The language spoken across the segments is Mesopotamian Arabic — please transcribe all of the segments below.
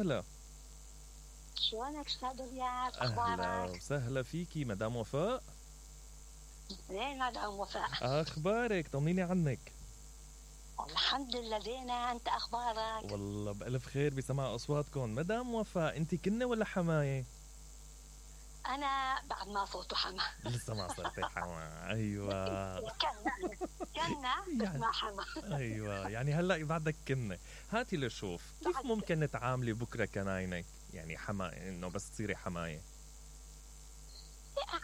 هلا. شلونك استاذ رياض؟ اهلا اخبارك؟ وسهلا فيكي مدام وفاء. زين مدام وفاء. اخبارك طمنيني عنك. الحمد لله زينة، انت اخبارك؟ والله بألف خير بسمع اصواتكم. مدام وفاء انت كنة ولا حماية؟ انا بعد ما صوته حما. لسه ما صرتي حما. ايوه كنا بس يعني ما حما. ايوه يعني هلا بعدك كنة. هاتي لشوف كيف ممكن تعاملي بكره كناينك، يعني حما انه بس تصيري حماية.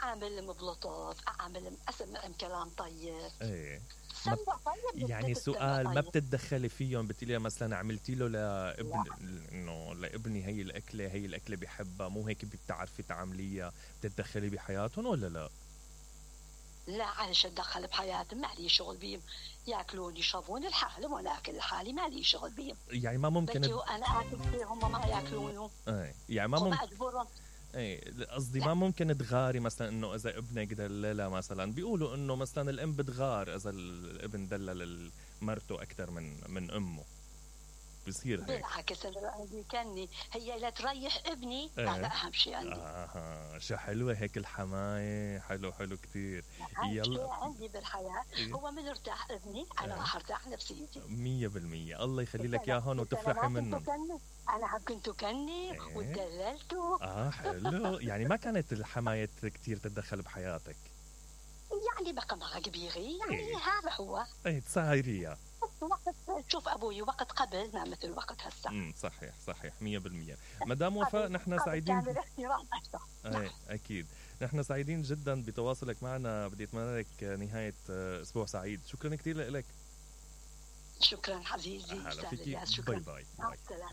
اعاملهم بلطف، اعاملهم اسمعهم كلام طيب. ايه ما سمع طيب يعني بتستمع سؤال، ما طيب. بتتدخلي فيهم؟ بتقولي عملتي له لابن، لا انه لابني هي الاكله بيحبها، مو هيك بتعرفي تعامليها؟ بتتدخلي بحياتهم ولا لا؟ لا عايش اتدخل بحياتهم، ما لي شغل بيهم. ياكلون يشربون لحالهم وانا اكل لحالي، ما لي شغل بيهم. يعني ما ممكن بس انا اكل فيهم هم ما ياكلونه. ايه يعني ما وما ممكن. اجبرهم. ايه قصدي لا ما ممكن تغاري مثلا، انه اذا ابنك دللها مثلا، بيقولوا انه مثلا الام بتغار اذا الابن دلل مرته اكثر من امه، بصير هيك؟ بالعكس انا عندي كني هي لا تريح ابني، هذا ايه اهم شيء عندي. شو حلوة هيك الحماية، حلو كتير. اهم يلا. شيء عندي بالحياه إيه. هو من ارتاح ابني انا ايه راح ارتاح نفسيتي. 100%. الله يخلي بس لك انا اياهم بس انا وتفرحي ما كنت منهم. كني، انا كنت كني ايه ودللته. حلو. يعني ما كانت الحماية كتير تتدخل بحياتك؟ يعني بقى مع كبيري يعني ايه هذا هو. تسايريها. وقت شوف ابوي وقت قبل ما مثل وقت هسه. صحيح 100%. مدام وفاء نحن قبل سعيدين كان الاحترام اكثر. نعم. ايه اكيد. نحن سعيدين جدا بتواصلك معنا. بدي اتمنى لك نهاية اسبوع سعيد. شكرا كثير لك. شكرا عزيزي هلا استاذ فيكي. الياس، باي شكرا. باي مع باي. السلامه.